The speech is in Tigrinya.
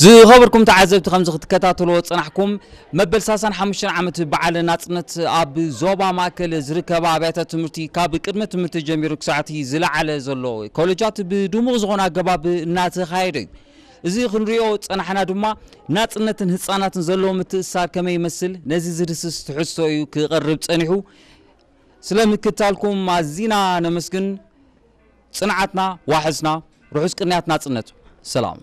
ዝኸበርኩም ተዓዘብቲ፣ ከምዚ ክትከታተልዎ ዝጸናሕኩም፣ መበል ሰላሳን ሓሙሽተን ዓመት በዓል ናጽነት ኣብ ዞባ ማእከል ዝርከባ ኣብያተ ትምህርቲ ካብ ቅድመ ትምህርቲ ጀሚሩ ክሳዕቲ ዝለዓለ ዘሎ ኮለጃት ብድሙቕ ዝኾነ ኣገባብ እናተኻየደ እዩ። እዚ ክንሪኦ ጸናሕና ድማ ናጽነትን ህጻናትን ዘለዎ ምትእስሳር ከመይ ይመስል፣ ነዚ ዝድስስ ትሕዝቶ እዩ ክቐርብ ጸኒሑ። ስለ ምክታልኩም ኣዚና ነመስግን። ጽንዓትና ዋሕስና፣ ርሑስ ቅንያት ናጽነት። ሰላም።